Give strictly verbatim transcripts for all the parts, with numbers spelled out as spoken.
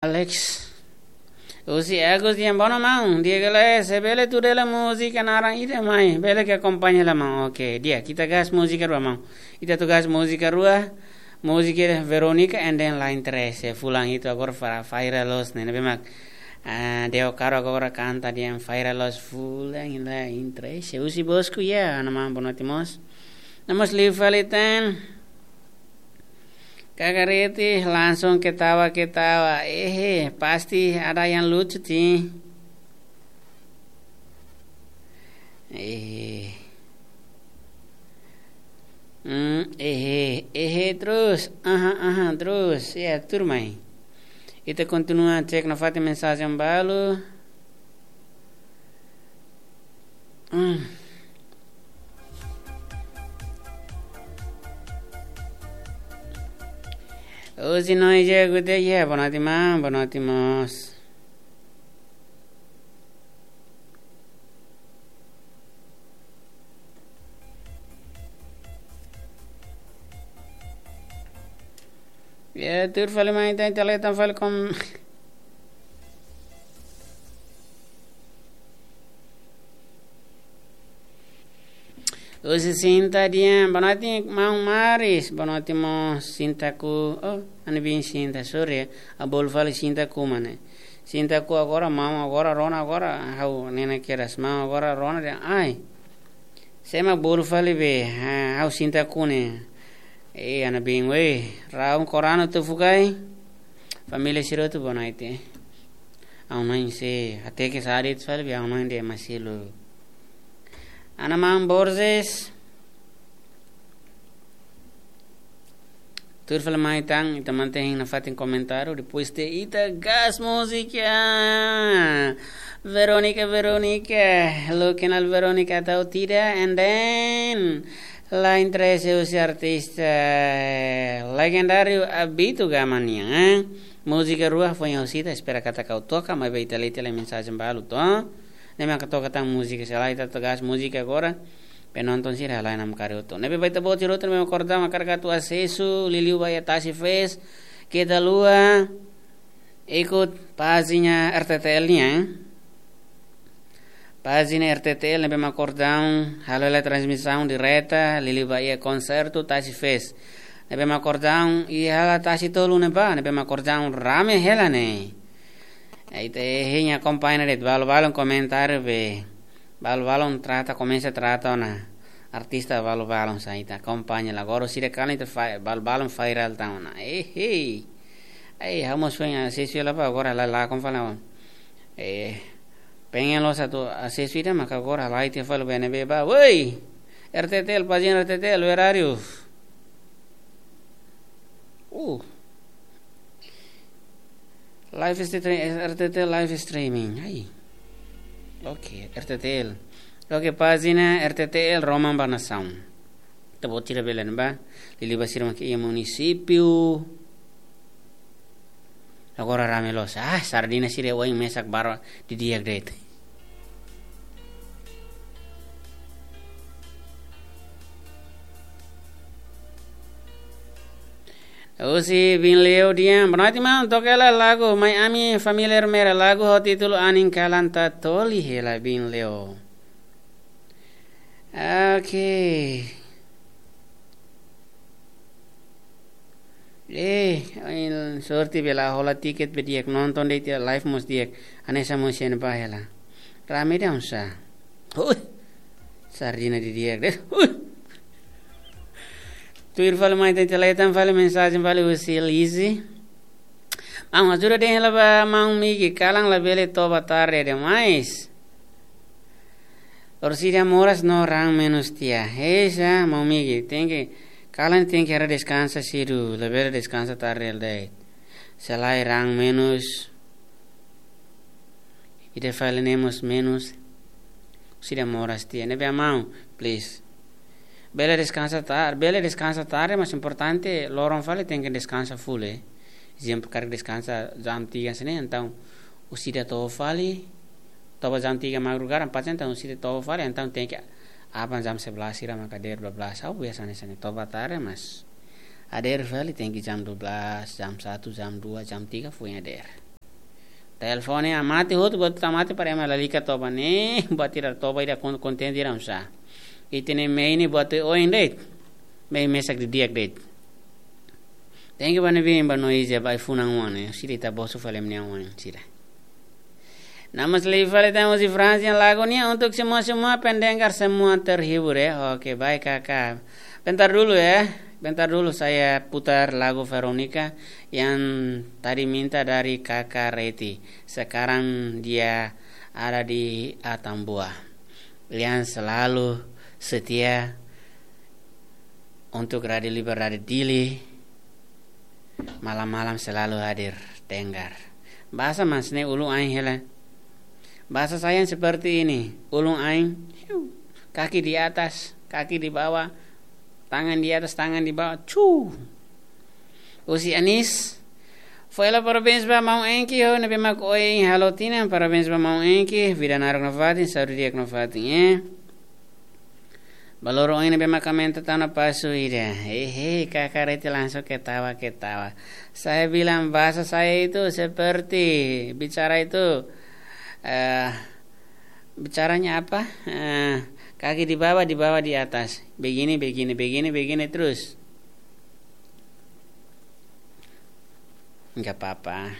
Alex. Husi Agus nian, boa, maun. Di'ak ka lae, se bele tuda hela múzika naran ida mai. Bele ke akompaña hela, maun. Oke, di'ak, ita gas múzika rua, maun. Ita atu gas múzika rua. Múzika Verónica and then Line Trece. Fulan hitu agora fa-, Faira Los ne'e, ne'ebé mak, ah, Deo Caro agora kanta nian, Faira Los fulan Line Trece. Husi Bosku ya, ana maun, boa noite mós. No mós liu fali tan. Kakarete langsung ketawa-ketawa. Ehe, pasti ada yang lucu, ti. Eh. Hmm, ehe, ehe terus. Aha, aha, terus. Ya, tuirmai. Ita kontinua cek nafatin mensajen balu. Hmm. Husi Noija Gute, ya, boa noite, maun, boa noite mós. Ya, tuir fali mai, ita, ita leten fali kom-, husi Sinta nian, boa noite, maun Maris, boa noite mós Sinta Ku, oh, ami-nia biin Sinta, sorry, ha'u bolu fali Sinta Ku mana. Sinta Ku agora, maun agora rona agora, ha'u ne'e kedas, maun agora rona dehan, ai. Sé mak bolu fali be, ha, ha'u Sinta Ku ne'e. Eh, ami-nia biin, weh, raun korano tu fugai. Família sira hotu boa noite. Ha'u-nia oin sei, até ke sadit fali be, ha'u-nia oin de'it masilu. Ana maun Borges. Tuir fali mai tan, ita mantein nafatin komentáriu, depois de ita gas múzika. Verónica, Verónica, lo kenal Verónica atau tidak, and then Line Trece husi artista legendáriu Abito Gama nian, eh? Múzika rua foin ha'u sita, espera katak ha'u toka, maibé ita leten lai mensajen balu to. Ne'e mak ha'u toka tan múzika, se lae ita atu gas múzika agora. Penonton sira halai namkari hotu. Ne'ebé ba ita-boot sira hotu ne'ebé mak akordaun hakarak atu asesu, liuliu ba iha Tasi Fest, keta haluha ikut pájina R T T L nian. Pájina R T T L ne'ebé mak akordaun halo hela transmisaun direta, liuliu ba iha konsertu Tasi Fest. Ne'ebé mak akordaun iha hela Tasi Tolu ne'ebá, ne'ebé mak akordaun rame hela ne'e. Ita hein akompaña de'it, balu-balun komentáriu be. Balu-balun trata, komesa trata ona artista balu-balun sa ita akompaña la. Agora sira kalan ita fa-, balu-balun viral tan ona. Eh, hei. Ai, ha'u mós foin asesu hela ba agora la, la kon fala. Eh, pengen loos atu asesu ida maka agora la ita fala bene be ba. Woi! R T T L, pájina R T T L, where are you? Uh. Live stream, R T T L live streaming. Ai. Oke, R T T L. Oke, pájina R T T L Roman ba Nasaun. Ita-boot sira bele ba. Liuliu ba sira mak iha munisípiu. Agora rame loos. Ah, sardina sira oin mesak barak didi'ak de'it. Husi Bin Leo nian, boa noite, maun, toka hela lagu Mai Ami Família Ermera, lagu ho títulu Anin Kalan Tatoli hela, Bin Leo. Oke. Eh, ai, sorte bele hola tiket be di'ak, nonton de'it iha live mós di'ak. Hanesan mós iha ne'ebá hela. Rame de'it oinsá. Hui. Sardina didi'ak de'it. Hui. Tuir fali mai, ita leten fali mensajen fali husi Lizzy. Maun, ajuda dehan hela ba maun Migi, kalan labele toba tarde demais. Orsida moras no raan menus tiha. Heisa, maun Migi, tenke, kalan tenke haree deskansa sedu, labele deskansa tarde hela de'it. Se lae raan menus, ida fali ne'e mós menus, orsida moras tiha. Ne'ebé maun, please. Bele deskansa tar-, bele deskansa tarde, mas importante loron fali tenke deskansa full, eh. Ezemplu, karik deskansa jam tiga hanesan ne'e, entaun orsida toba fali, toba jam tiga madrugada, empat, entaun orsida toba fali, entaun tenke aban jam sebelas sira maka dadeer dua belas. Ha'u biasa hanesan ne'e, toba tarde, mas dadeer fali tenke jam dua belas, jam satu, jam dua, jam tiga foin dadeer. Telefone ah mate hotu, buat ita mate para ema lalika toba ne'e, buat ida toba ida kon-, kontente ida oinsá. Ita-nia mehi ne'e buat oioin de'it. Mehi mesak didi'ak de'it. Thank you ba ne'ebé ba noise ba ai-funan oan ne'e. Sira ita bosu fali ema nia oan sira. Namas liu fali tan husi Franz nia lagu nian untuk semua-semua pendengar semua terhibur ya. Oke, baik kakak. Bentar dulu ya. Bentar dulu saya putar lagu Veronica yang tadi minta dari kakak Reti. Sekarang dia ada di Atambua. Yang selalu setia untuk Radio Liberdade Dili. Malam-malam selalu hadir, dengar. Bahasa Mas ne'e ulun ain hela. Bahasa saya seperti ini, ulun ain, hiu, kaki di atas, kaki di bawah, tangan di atas, tangan di bawah, cu. Husi Anis, fó hela parabéns ba maun Enki ho ne'ebé mak ohin halo tinan, parabéns ba maun Enki, vida naruk nafatin, saúde di'ak nafatin, eh. Ba loron ohin ne'ebé mak aumenta tan pasu ida. Hehe, kakak Reti langsung ketawa-ketawa. Saya bilang bahasa saya itu seperti bicara itu, eh, bicaranya apa? Eh, kaki di bawah, di bawah, di atas. Begini, begini, begini, begini terus. Enggak apa-apa.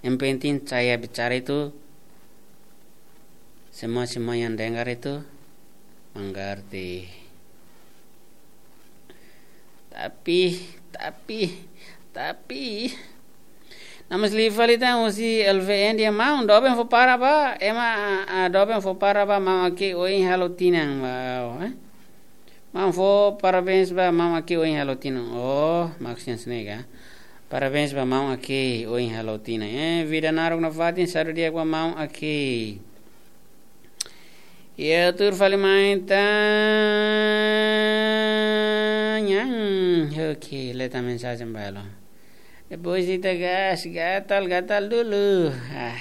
Yang penting saya bicara itu, semua-semua yang dengar itu mengerti. Tapi, tapi, tapi, namas liu fali tan husi L V N dia maun, doben fó para ba, ema, ah, doben fó para ba, maun Aki ohin halo tinan ba, eh? Maun fó parabéns ba maun Aki ohin halo tinan. Oh, maksudnya senega. Parabéns ba maun Aki ohin halo tinan. Eh, vida naruk nafatin, saúde di'ak ba maun Aki. Ya, tuur fali mai tan. Oke, leta mensajen balu. Depois ita gas, gatal, gatal dulu. Ah.